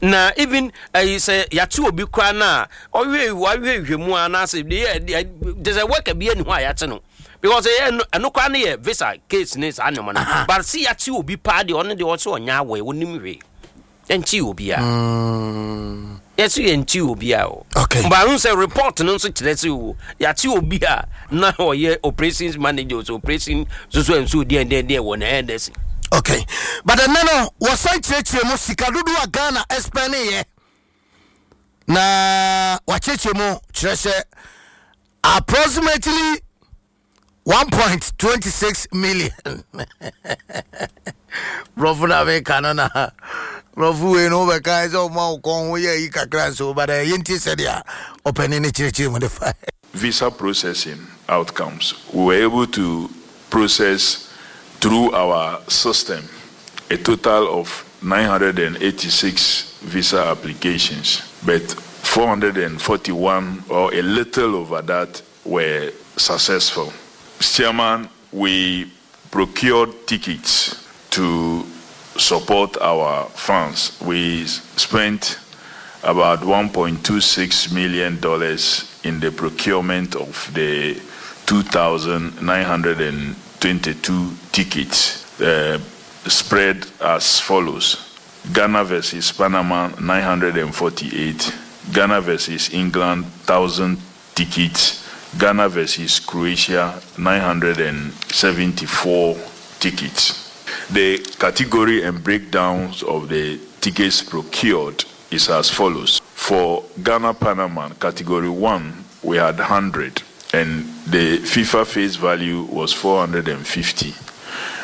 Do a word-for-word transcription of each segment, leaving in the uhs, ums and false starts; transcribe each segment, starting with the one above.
Na even ɛyi sɛ yɛate obi koraa no a, ɔhwɛ wahwɛ hwɛ mu anaasɛ deɛ yɛ sɛ worker bi ani hɔ a yɛate no, because ɛyɛ ɛno ɛno koraa no yɛ visa case ne saa nneɛma no. But sɛ yɛate obi paa deɛ, ɔno deɛ ɔsɛ ɔnyɛ awɔ, ɔnim hwee, yɛnkyi obi a yɛsɛ yɛnkyi obi a o. Okay. But ahun sɛ report no nso kyerɛ sɛ o, yɛate obi a na ɔyɛ operations manager, so operation soso nso deɛ deɛ deɛ wɔ na ɛyɛ Okay, but ɛnɛ no wɔsan kyerɛkyerɛ mu sika dodoɔ a Ghana ɛspend na wakyerɛkyerɛ mu kyerɛ sɛ approximately one point two six million. Borɔfo na meka no, na borɔfo wei no wobɛka sɛ ɔma wo kɔn ho yɛ yi kakra nso, but yɛntie sɛdeɛ ɔpani no kyerɛkyerɛ mu de fa. Visa processing outcomes. We were able to process through our system a total of nine hundred eighty-six visa applications, but four hundred forty-one or a little over that were successful. Mister Chairman, we procured tickets to support our fans. We spent about one point two six million dollars in the procurement of the two thousand nine hundred twenty-two tickets, uh, spread as follows: Ghana versus Panama, nine hundred forty-eight, Ghana versus England, one thousand tickets, Ghana versus Croatia, nine hundred seventy-four tickets. The category and breakdowns of the tickets procured is as follows. For Ghana Panama, category one, we had one hundred, and the FIFA face value was four hundred fifty.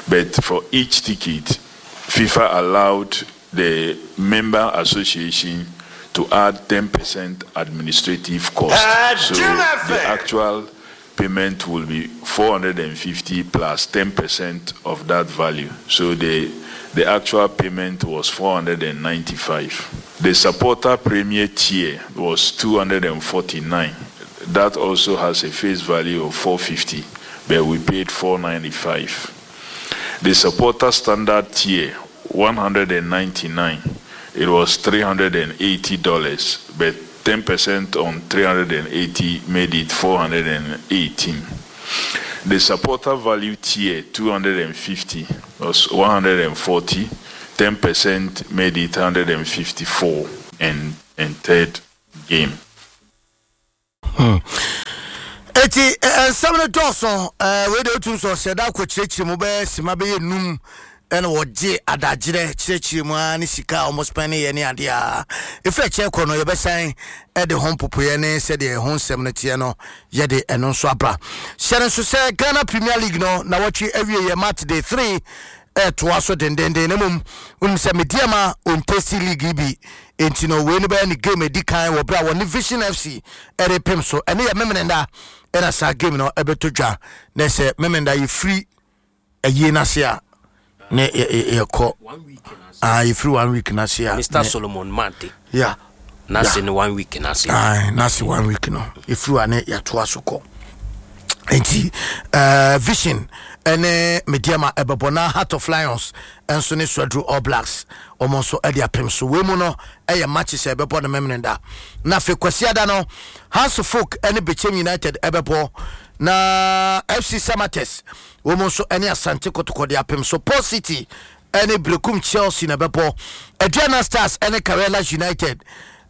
But for each ticket, FIFA allowed the member association to add ten percent administrative cost. So the actual payment will be four hundred fifty plus ten percent of that value. So the the actual payment was four hundred ninety-five. The supporter premier tier was two hundred forty-nine. That also has a face value of four hundred fifty, but we paid four hundred ninety-five. The supporter standard tier, one hundred ninety-nine. It was three hundred eighty dollars, but ten percent on three hundred eighty made it four hundred eighteen. The supporter value tier, two hundred fifty, was one hundred forty. ten percent made it one hundred fifty-four and, and third game. Hmm. Eti nsɛm no dɔɔso. Wei de wotum sɛ ɔhyɛ da akɔkyerɛkyerɛ mu bɛyɛ sima bɛyɛ num, ɛna wɔgye adagyerɛ kyerɛkyerɛ mu a ne sika a ɔmo spend yɛ ne adeɛ a ɛfiri akyerɛ kɔ no, yɛbɛsan ɛde ho mpopoeɛ ne sɛdeɛ ɛho nsɛm no teɛ no, yɛde ɛno nso aba. Hyɛ no nso sɛ Ghana Premier League no na wɔtwe awie yɛ match day three ɛtoa so dendenden, na mmom wonim sɛ Medeama ɔntesti league yi bi, enti no wei no bɛyɛ ne game adi kan wɔ berɛ a wɔne Vision F C ɛde pem so. Ɛne yɛ Memeneda ɛna saa game no ɛbɛtɔ dwa, na sɛ Memeneda yɛfiri ayie no ase a ne yɛkɔ yɛfiri one week no ase a. Mister Solomon Mante. Yeah. N'ase ne one week n'ase. N'ase one week no yɛfiri wa ne yɛatoa so kɔ. Nti uh, Vision ɛne Medeama ɛbɛbɔ, na Heart of Lions ɛnso ne Swedru All Blacks, ɔmo nso ɛde apem so. Wei mu no ɛyɛ matches a ɛbɛbɔ no Memeneda. Na afei Kwasiada no, Hearts of Oak ɛne Bechem United ɛbɛbɔ, na F C Samartex wɔn nso ɛne Asante Kotoko de apem so. Port City ɛne Brekum Chelsea na ɛbɛbɔ. Aduana Stars ɛne Karela United.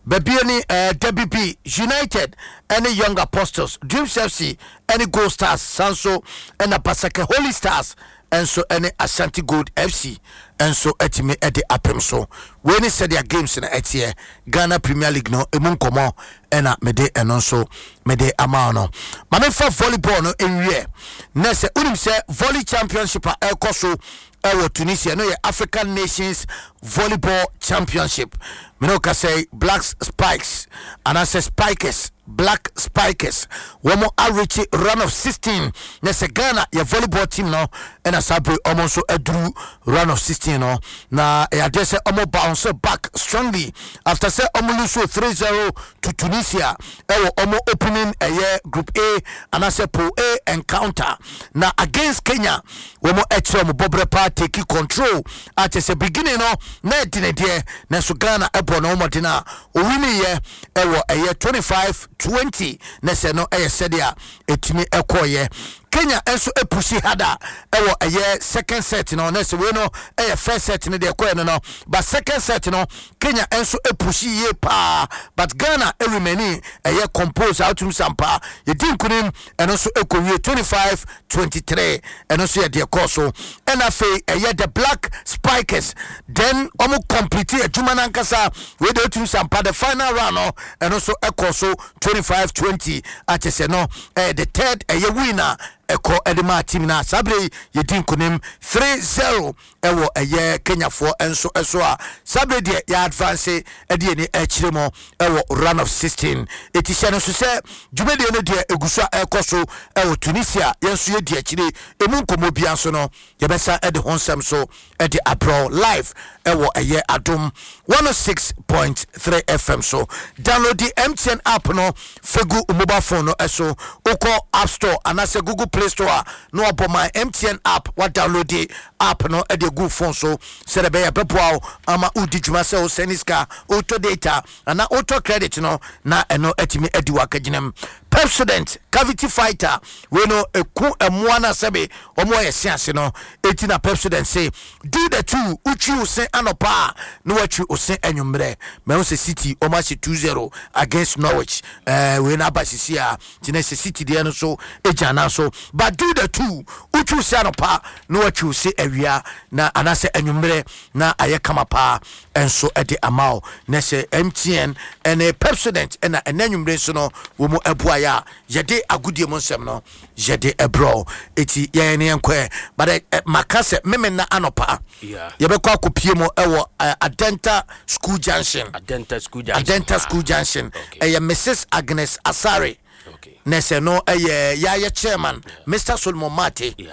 Baabi ne uh, W B United ɛne Young Apostles, Dreams F C ɛne Gold Stars, sanso ɛna Basake Holy Stars ɛnso ɛne Ashanti Gold F C ɛnso ɛtumi ɛde apem so. Wei ne sɛdeɛ games no ɛteɛ. Ghana Premier League no emu nkɔmɔ ɛna mede ɛno nso mede ama no. Maame fa volleyball no nwie na sɛ wonim sɛ volley championship a ɛrekɔ so ɛwɔ Tunisia no yɛ African Nations Volleyball Championship. Mene woka sɛ Black Spikes anaasɛ Spikers, Black Spikers, wɔn areach round of sixteen, na sɛ Ghana yɛ volleyball team no ɛna saa bere wɔn nso aduru round of sixteen no, na ɛyɛ adeɛ sɛ wɔn bounce. bounce back strongly after sɛ ɔmo lose three zero to Tunisia ɛwɔ ɔmo opening ɛyɛ Group A anaasɛ Pool A encounter. Na against Kenya, wɔn ɛkyerɛ ɔmo bɔbrɛ paa, take control a kyerɛ sɛ beginning no na ɛdi ne deɛ, nanso Ghana ɛbɔ ne wɔmɔden a owiniyɛ ɛwɔ ɛyɛ twenty-five twenty. Na sɛ no ɛyɛ sɛdeɛ ɛtumi ɛkɔɔyɛ, Kenya nso epush harder ɛwɔ ɛyɛ second set no. Na sɛ wei no ɛyɛ first set no deɛ ɛkɔɛ no no but second set no, Kenya nso epush yie paa, but Ghana ɛremain ɛyɛ compose a wotum sampa yɛdi nkunim. Ɛno nso ɛkɔwie twenty-five twenty-three. Ɛno nso yɛ deɛ kɔɔ so. Ɛna afei ɛyɛ the Black Spikers, then ɔmo complete adwuma no ankasa. Wei de wotum sampa the final round no, ɛno nso ɛkɔ so twenty-five twenty. Akyɛ sɛ no ɛyɛ the third ɛyɛ win a ɛkɔ ɛde maa team no a saa bere yi yɛdi nkonim three zero ɛwɔ ɛyɛ Kenyafoɔ nso ɛso a saa bere deɛ yɛ advance ɛde yɛni ɛkyerɛ mu ɛwɔ round of sixteen. Eti hyɛ no nso sɛ dwumadie no deɛ egu so a ɛrekɔ so ɛwɔ Tunisia. Yɛn nso yɛdi akyire, emu nkɔmɔ bia nso no yɛbɛsa ɛde ho nsɛm so ɛde abrɔ live ɛwɔ ɛyɛ Adom one oh six point three F M so. Download the M T N app no fegu mobile phone no ɛso. Wokɔ App Store anaasɛ Google Play Store a, na wabɔ my M T N app, wa download the app no ɛde gu phone so sɛdeɛ ɛbɛyɛ bɛboa wo ama wodi dwuma sɛ wo send sika, wotɔ data anaa wotɔ credit no, na ɛno atumi adi wakagyina mu. Pepsodent Cavity Fighter wei no ɛku ɛmmoa no a sɛbe ɔmo ayɛ se ase no. Ɛti na Pepsodent se do the two. Wotwi wo se anɔpa a, na watwi wo se anwummerɛ. Mahu sɛ City ɔmo ahyɛ two zero against Norwich. ɛɛ wei no aba sisi a nti na sɛ City deɛ no so ɛgya na so, but do the two. Wotwi wo se anɔpa na watwi wo se awia na anaasɛ anwummerɛ na ayɛ kama paa ɛnso ɛde ama wo. Na sɛ M T N ɛne Pepsodent ɛna ɛnɛ anwummerɛ nso no wɔ mu ɛboa yɛ a yɛde agodie mu nsɛm no yɛde ɛbrɛ. Eti yɛn ne yɛn kɔɛ, but ɛ ɛ maka sɛ mímí na anɔpa Yeah. yɛbɛkɔ akɔpie mu ɛwɔ ɛ Adenta School Junction. Adenta School Junction. Adenta School Junction. Okay. Ɛyɛ Missus Agnes Asare. Okay. Na sɛ no ɛyɛ yɛayɛ chairman Mister Solomon Mate. Yeah.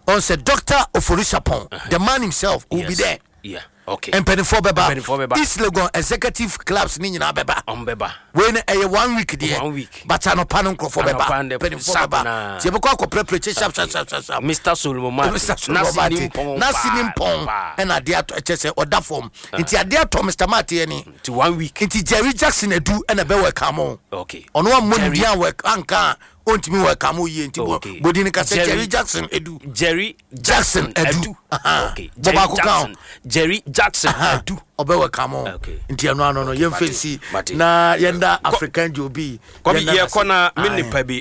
Ɔn sɛ Doctor Oforisapɔn, the man himself, will be Yes. there. Yeah. Okay. Mpanimfoɔ bɛba. Mpanimfoɔ bɛba. East Legon executive clubs ne nyinaa bɛba. Ɔmo bɛba. Wei no ɛyɛ one week deɛ. One week. But anɔpa no nkurɔfoɔ bɛba. Anɔpa no mpanimfoɔ sharp bɛba naa. nti yɛbɛkɔ akɔprɛprɛ kye sharp sharp sharp sharp sharp. Mister Solomon Mate. Mister Solomon Nasi Mate ni mpɔn nasi ni paa, mpɔn paa. Ɛna adeɛ atɔ, ɛkyɛ sɛ ɔda fam nti adeɛ atɔ Mister Mate yɛ ni. Ti one week. Nti Jerry Jackson Edu ɛna ɛbɛ wɔ ɛka mo. Okay. Ɔno ammɔ ne Jerry- din a wɔ anka a ɔntumi wɔ ɛka mo yie nti bɔ Okay. bɔdi ne ka sɛ Jerry- Jerry Jackson Edu. Jerry Jackson Edu. Aha. Okay. Bɔ Jerry baako ka ho. Jackson. Jerry Jackson Edu. Ɔbɛwɔ ka mo. Okay. Nti ɛno ano no yɛmfa Mate. nsi Mate. na yɛnda African Jobi. Kɔbi yɛkɔ na me nipa bi.